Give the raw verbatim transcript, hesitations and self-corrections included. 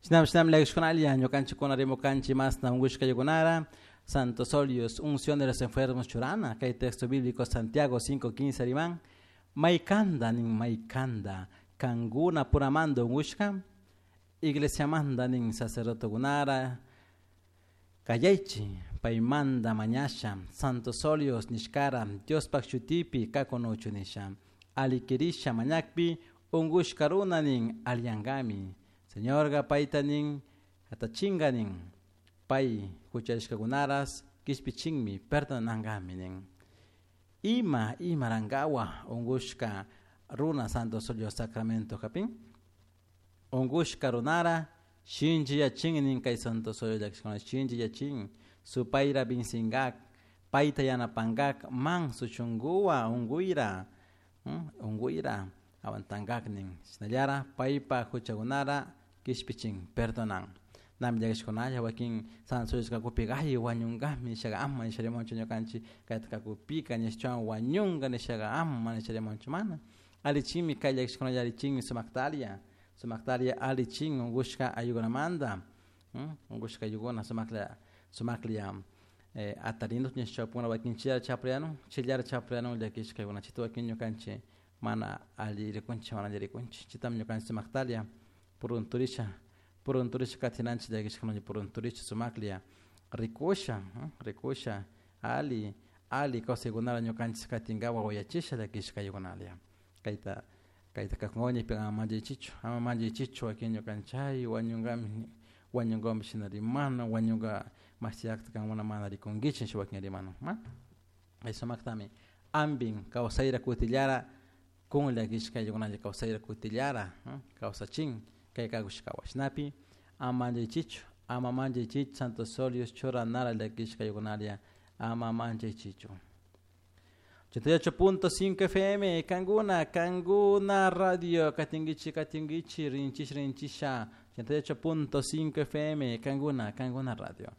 Shinam shinam llakishkunalla ñukanchikuna rimukanchik masna unkushkaykunara Santos Óleos, unción de los enfermos churana, kay texto bíblico Santiago cinco quince riman, maykanda nin maykanda kankuna puramanta unkushka iglesiamanta nin sacerdotekunara kayaychik paymanta mañasha Santos Óleos nishkara Diospak shutipi kakunuchu nisha alli mañakpi unkushka runa nin alliyankami Señorga payta nin hatachinka nin pay huchallishkakunaras kishpichinmi perdonankami nin ima imarankawa unkushka runa Santos Óleos sacramento hapin unkushka runara shinchiyachin nin kay Santos Óleos llakishkuna shinchiyachin supayra vincinkak payta yanapankak manso shunkuwan unkuyra unkuyra aguantankak nin shinallara paypa huchakunara kishpichin perdonan nami llakishkunalla wakin Santos Óleos kakupika ay wañunkami nishaka ama nisha rimanchu ñukanchik kayta kakupika nishawan wañunka nishaka ama nisha rimanchu mana allichinmi kay llakishkunalla allichinmi sumaktaria sumaktaria allichin unkushka ayukunamanta unkushka ayukuna sumaklla sumaklla eh, atarino nishchapuna wakin chillara chapriyanun chillara chapriyanun llakishkakuna chayta wakin ñukanchik mana alli rikunchik mana alli rikunchik chaytami ñukanchik sumaktaria purunturisha purunturisha katinanchik llakishkanalla purunturisha sumaklla rikusha rikusha alli alli kawsaykunata ñukanchik katinkapak wayachisha llakishka ayukunalla kayta kayta kakun ama manchaychichu ama manchaychichu wakin ñukanchik ay wañunkami wañunkami shina rimana wañunka mashiyakta kankuna mana rikunkichik nisha wakin rimana mana kay sumaktami ampin kawsayra kutillara kun llakishka ayllunkunalla kawsayra kutillara kawsachin kay kakushkawan shinapi ama manchaychichu ama manchaychichu Santos Óleos churanara llakishka ayllunkunalla ama manchaychichu ochenta y ocho punto cinco F M Kanguna, Kanguna Radio, katingichi, katingichi, rinchish, rinchisha, ochenta y ocho punto cinco F M, Kanguna, Kanguna Radio.